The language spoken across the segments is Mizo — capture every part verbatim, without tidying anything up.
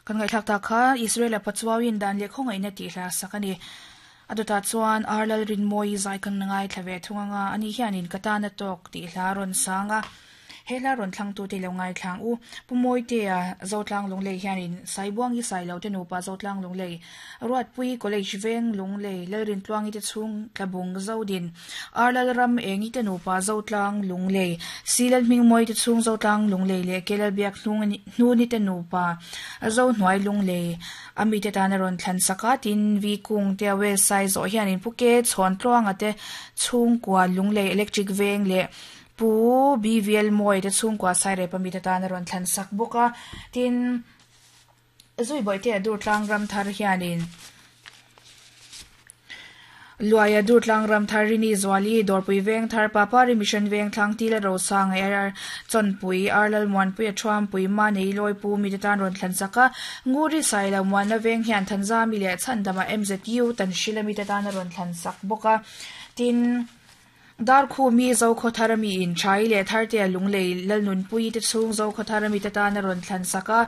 Kan ngai thlak ta kha Israel a pachuawin dan le khongai na ti hla sakani aduta chuan arlal rin moi zai kan ngai thlave thunganga ani hianin katana tok ti hla ron sanga hela ron thlang tu te lo ngai thlang u pumoi te a zotlang lunglei hianin saibuang i sai lo te nupa zotlang lunglei ruat pui college veng lunglei lalrin tluangi te chung tlabung zodin arlal ram engi te nupa zotlang lunglei silal hming moi te chung zotlang lunglei le kelal biak hnung hnuni te nupa zo hnuai lunglei ami te tan ron thlan saka tin vi kung te we sai zo hianin puke chhon tluanga te chung kwa lunglei electric veng le pu B V L moi te chung kwa sai re pami te tan ron thlan sak boka tin zui boi te dur tlang ram thar hianin luaya dur tlang ram thar rini zwali dorpui veng thar papari mission veng thlang tila ro sang er chonpui arlal muan pui thuam pui ma nei loi pu mi te tan ron thlan saka nguri sai la muan na veng hian thanza mi le chandama M Z U tan shilami te tan ron thlan sak boka tin dar khu mi zo kho tharami in chai le thar te lunglei lalnun pui te chung zo kho tharami te tan ron thlan saka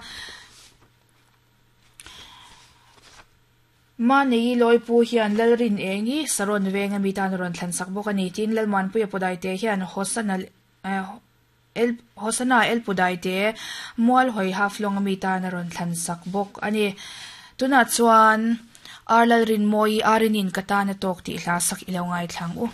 ma nei loi pu hian lalrin engi saron venga mi tan ron thlan sak bawk ani tin lalman pui podai te hian hosana el hosana el pudai te mual hoi half long mi tan ron thlan sak bawk ani tuna chuan arlal rin moi arinin katana tok ti hla sak ilo ngai thlang u.